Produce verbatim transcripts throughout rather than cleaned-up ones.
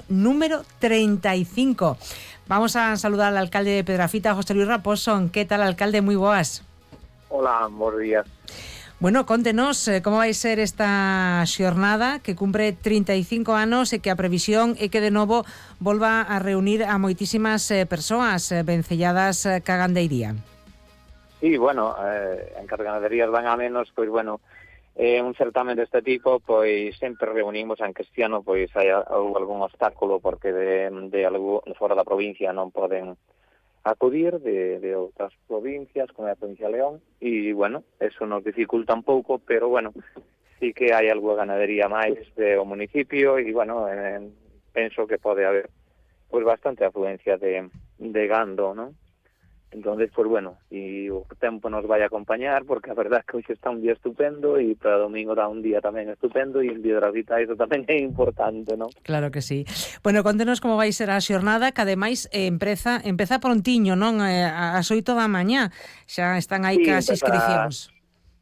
número treinta y cinco. Vamos a saludar al alcalde de Pedrafita, José Luis Raposo. ¿Qué tal, alcalde? Moi boas. Hola, buenos días. Bueno, contenos eh, como vai ser esta xornada que cumpre trinta e cinco anos e que a previsión é que de novo volva a reunir a moitísimas eh, persoas eh, vencelladas eh, ca gandeiría. Sí, bueno, eh, en que as ganaderías van a menos, pois bueno, eh, un certamen deste tipo, pois sempre reunimos, en que este ano pois hai algún obstáculo porque de, de algo fora da provincia non poden acudir de, de outras provincias, como a provincia de León, e, bueno, eso nos dificulta un pouco, pero, bueno, sí que hai algo de ganadería máis do municipio e, bueno, eh, penso que pode haber pois bastante afluencia de, de gando, non? Entonces, pues bueno, e o tempo nos vai acompañar, porque a verdad é que hoxe está un día estupendo e para domingo dá un día tamén estupendo e en Pedrafita iso tamén é importante, non? Claro que sí. Bueno, contenos como vai ser a xornada, que ademais eh, empeza, empeza prontiño, non? Eh, ás oito da mañá, xa están aí Sí, cas empeza, inscricións.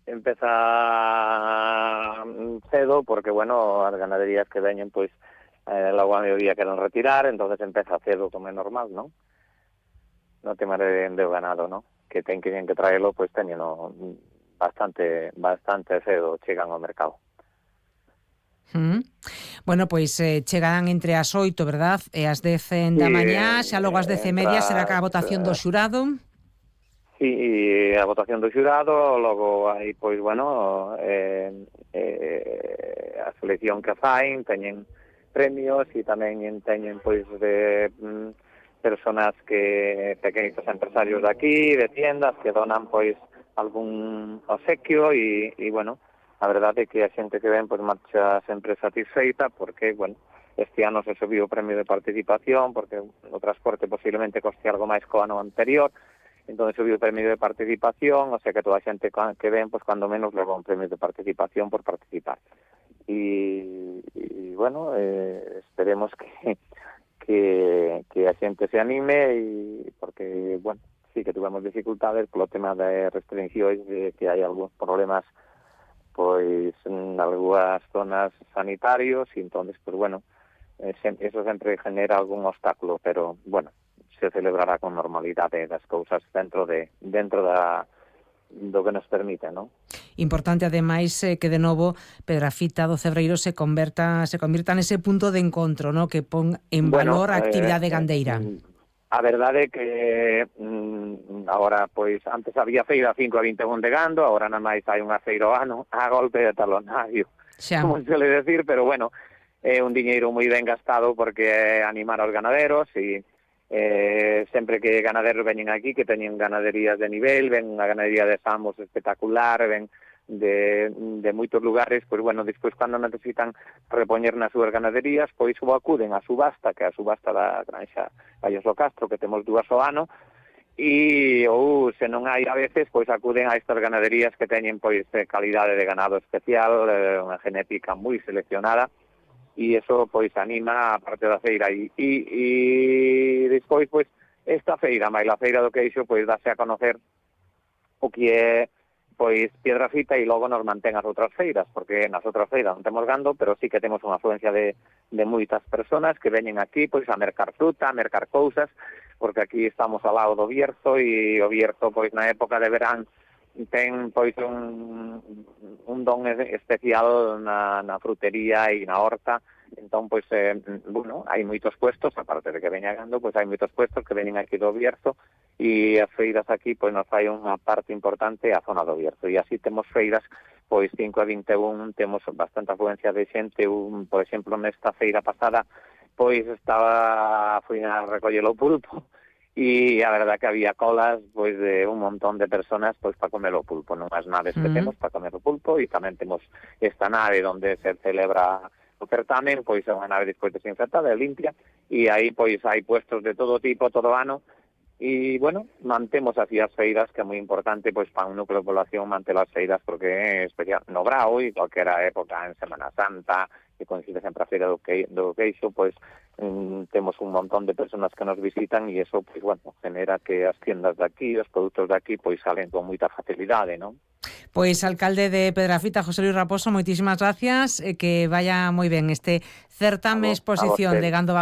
empeza cedo, porque, bueno, as ganaderías que veñen, pois, eh, logo a mediodía queren retirar, entonces empeza cedo, como é normal, non? No tema de, de ganado, ¿no? Que ten que ten que traelo, pois pues, teñeno bastante bastante cedo, chegan ao mercado. Mm. Bueno, pois eh, chegarán entre as oito, verdad? E as dez da Sí, mañá, xa logo as dez e media será que a votación do xurado. Sí, e a votación do xurado, logo aí, pois, bueno, eh, eh, a selección que fain, teñen premios e tamén teñen, pois, de... Mm, personas que, pequenos empresarios de aquí, de tiendas, que donan, pois, algún obsequio e, e bueno, a verdade é que a xente que ven, pois, marcha sempre satisfeita, porque, bueno, este ano se subiu o premio de participación, porque o transporte posiblemente coste algo máis co ano anterior, entón subiu o premio de participación, o sea que toda a xente que ven, pois, cando menos leva un premio de participación por participar. E, e bueno, eh, esperemos que que, que a xente se anime e porque, bueno, sí que tuvemos dificultades polo tema de restriccións, de que hai algúns problemas pois en algunhas zonas sanitarios e entonces, pues bueno, eh, eso sempre genera algún obstáculo, pero, bueno, se celebrará con normalidade das cousas dentro de dentro da do que nos permite, non? Importante ademais eh, que de novo Pedrafita do Cebreiro se converta se convirta nese punto de encontro, ¿no? Que pon en bueno, valor a actividade eh, gandeira. A verdade é que mm, agora, pois, antes había feira cinco a vinte e un de gando, agora nada máis hai unha feira ao ano a golpe de talonario, xa, como se le decir, pero bueno, é un diñeiro moi ben gastado porque é animar aos ganaderos e Eh, sempre que ganaderos veñen aquí, que teñen ganaderías de nivel, ven unha ganadería de Samos espectacular, ven de, de moitos lugares, pois bueno, despois cando necesitan repoñer nas súas ganaderías, pois ou acuden á subasta, que é a subasta da Granxa Gallos do Castro, que temos dúas ao ano, e ou se non hai a veces, pois acuden a estas ganaderías que teñen pois calidade de ganado especial, eh, unha genética moi seleccionada, e eso pois anima a parte da feira e, e, e despois pois esta feira, máis a feira do queixo, pois dáse a conocer o que é pois Pedrafita e logo nos mantén as outras feiras, porque nas outras feiras non temos gando, pero sí que temos unha afluencia de, de moitas personas que veñen aquí pois a mercar fruta, a mercar cousas, porque aquí estamos ao lado do Bierzo e o Bierzo pois na época de verán ten pois un, un don especial na, na frutería e na horta, entón pois eh, bueno, hai moitos puestos, aparte de que veña gando, pois hai moitos puestos que veñen aquí do Bierzo e as feiras aquí pois nos fai unha parte importante a zona do Bierzo e así temos feiras pois cinco a vinte e un, temos bastante afluencia de xente, un, por exemplo, nesta feira pasada pois estaba foi a recoller o pulpo e a verdad que había colas pois de un montón de personas pois para comer o pulpo, nunhas naves que mm. temos para comer o pulpo e tamén temos esta nave onde se celebra o certamen, pois é unha nave despois desinfectada e limpia e aí pois hai puestos de todo tipo todo ano e bueno, mantemos así as feiras que é moi importante pois para un núcleo de población manter as feiras porque é especial no Brao e cualquera época en Semana Santa que coincide sempre a feira do, que, do queixo, pois mm, temos un montón de personas que nos visitan e eso, pois, bueno, genera que as tiendas de aquí, os produtos de aquí, pois salen con moita facilidade, non? Pois alcalde de Pedrafita, José Luis Raposo, moitísimas gracias, e que vaya moi ben este certame exposición de gando